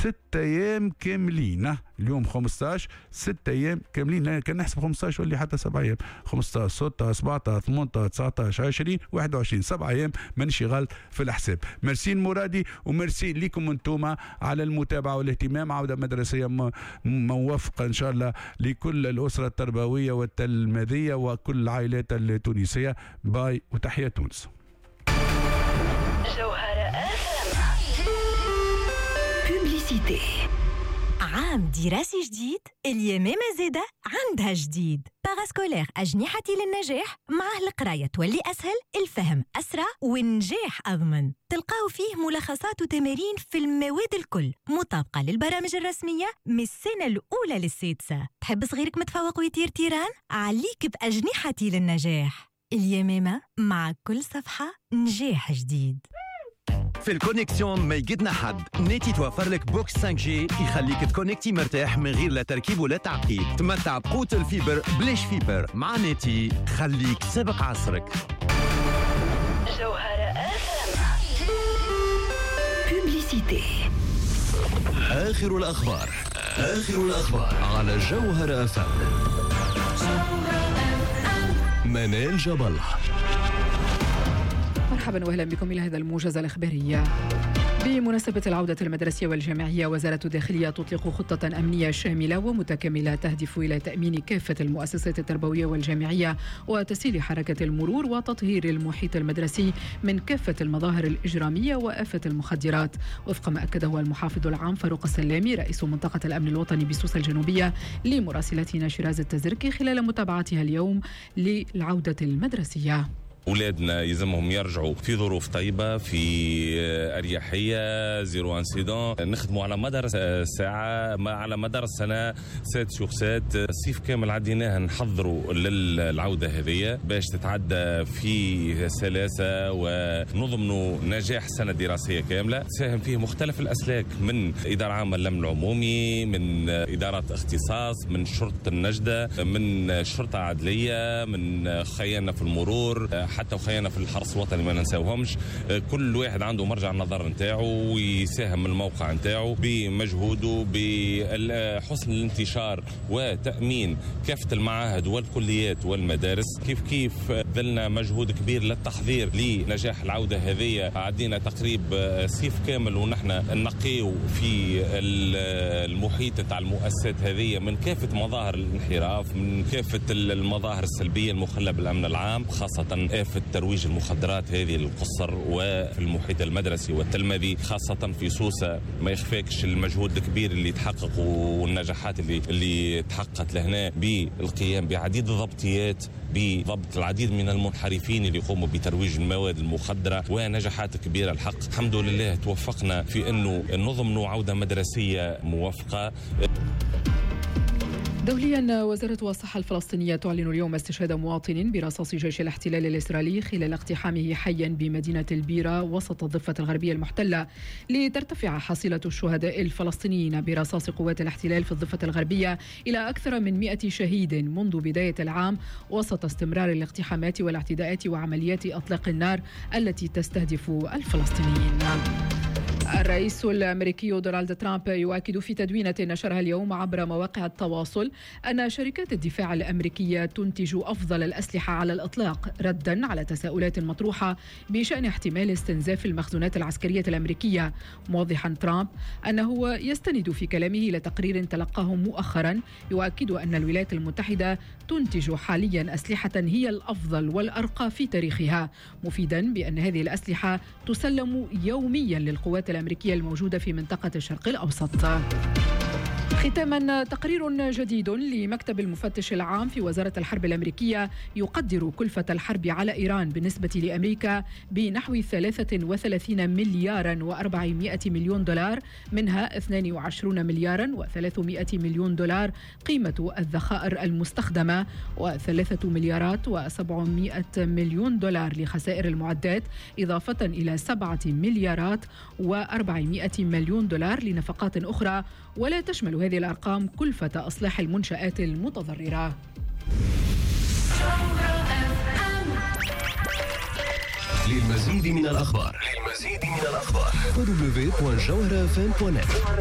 6 ايام كاملين. اليوم 15، 6 ايام كاملين. كان نحسب 15 ولا حتى 7 ايام، 15، 16، 17، 18، 19، 20، 21، 7 ايام، مانيش غلط في الحساب. ميرسي مرادي وميرسي لكم انتم على المتابعة والاهتمام. عوده مدرسيه موفقة ان شاء الله لكل الاسرة التربوية والتلميذيه وكل العائلات التونسيه. باي وتحيا تونس. جوهرة publicité. عام دراسي جديد، اليمامة زادة عندها جديد. parascolaire أجنحتي للنجاح، معه القراية تولي أسهل، الفهم أسرع والنجاح أضمن. تلقاو فيه ملخصات وتمارين في المواد الكل مطابقة للبرامج الرسمية من السنة الأولى للسادسة. تحب صغيرك متفوق ويطير طيران؟ عليك بأجنحتي للنجاح. اليمامة، مع كل صفحة نجاح جديد. في ال connexion ما يقدنا حد. نتي توفر لك box 5G يخليك تكونكتي مرتاح من غير لا تركيب ولا تعقيد. تمتع بقوة ال fibre بلاش fibre. مع نتي خليك سابق عصرك. جوهرة publicité. آخر الأخبار، آخر الأخبار على جوهرة أف أم. منال جبل. مرحبا واهلا بكم الى هذا الموجز الاخباري. بمناسبة العودة المدرسية والجامعية، وزارة الداخلية تطلق خطة أمنية شاملة ومتكاملة تهدف إلى تأمين كافة المؤسسات التربوية والجامعية وتسهيل حركة المرور وتطهير المحيط المدرسي من كافة المظاهر الإجرامية وآفة المخدرات، وفق ما أكده المحافظ العام فاروق السلامي رئيس منطقة الأمن الوطني بسوسة الجنوبية لمراسلتنا شيراز التزركي خلال متابعتها اليوم للعودة المدرسية. اولادنا يلزمهم يرجعوا في ظروف طيبه، في اريحيه، zéro incident. نخدموا على مدار الساعه، على مدار السنه، 7 sur 7. الصيف كامل عديناه نحضروا للعودة هذه باش تتعدى في سلاسة ونضمنوا نجاح السنة الدراسية كامله. تساهم فيه مختلف الاسلاك، من ادارة عامة للامن العمومي، من ادارات اختصاص، من شرطه النجده، من شرطه عدليه، من خيانا في المرور، حتى وخيانا في الحرس الوطني ما ننساوهمش. كل واحد عنده مرجع النظر نتاعو ويساهم من الموقع نتاعو بمجهوده بحسن الانتشار وتامين كافة المعاهد والكليات والمدارس. كيف كيف بذلنا مجهود كبير للتحضير لنجاح العودة هذه. عدينا تقريب صيف كامل ونحن نقيو في المحيط تاع المؤسسات هذه من كافة مظاهر الانحراف، من كافة المظاهر السلبية المخله بالامن العام، خاصة آفة ترويج المخدرات هذه للقصر وفي المحيط المدرسي والتلمذي، خاصة في سوسة. ما يخفاكش المجهود الكبير اللي تحقق والنجاحات اللي تحققت لهنا بالقيام بعديد الضبطيات، بضبط العديد من المنحرفين اللي يقوموا بترويج المواد المخدرة، ونجاحات كبيرة. الحق الحمد لله توفقنا في أنه نضمن عودة مدرسية موفقة. دوليا، وزارة الصحة الفلسطينية تعلن اليوم استشهاد مواطن برصاص جيش الاحتلال الإسرائيلي خلال اقتحامه حيا بمدينة البيرة وسط الضفة الغربية المحتلة، لترتفع حصيلة الشهداء الفلسطينيين برصاص قوات الاحتلال في الضفة الغربية إلى أكثر من 100 شهيد منذ بداية العام، وسط استمرار الاقتحامات والاعتداءات وعمليات إطلاق النار التي تستهدف الفلسطينيين. الرئيس الامريكي دونالد ترامب يؤكد في تدوينه نشرها اليوم عبر مواقع التواصل ان شركات الدفاع الامريكية تنتج افضل الاسلحة على الاطلاق، ردا على تساؤلات مطروحة بشان احتمال استنزاف المخزونات العسكرية الامريكيه. موضحا ترامب انه يستند في كلامه الى تقرير تلقاه مؤخرا يؤكد ان الولايات المتحدة تنتج حاليا اسلحة هي الافضل والارقى في تاريخها، مفيدا بان هذه الاسلحة تسلم يوميا للقوات الأمريكية الموجودة في منطقة الشرق الأوسط. ختاما، تقرير جديد لمكتب المفتش العام في وزارة الحرب الأمريكية يقدر كلفة الحرب على إيران بالنسبة لأمريكا بنحو 33 مليارا و400 مليون دولار، منها 22 مليارا و300 مليون دولار قيمة الذخائر المستخدمة، و3 مليارات و700 مليون دولار لخسائر المعدات، إضافة إلى 7 مليارات و400 مليون دولار لنفقات أخرى. ولا تشمل هذه الأرقام كلفة إصلاح المنشآت المتضررة. للمزيد من الأخبار، للمزيد من الأخبار www.jawharafm.net.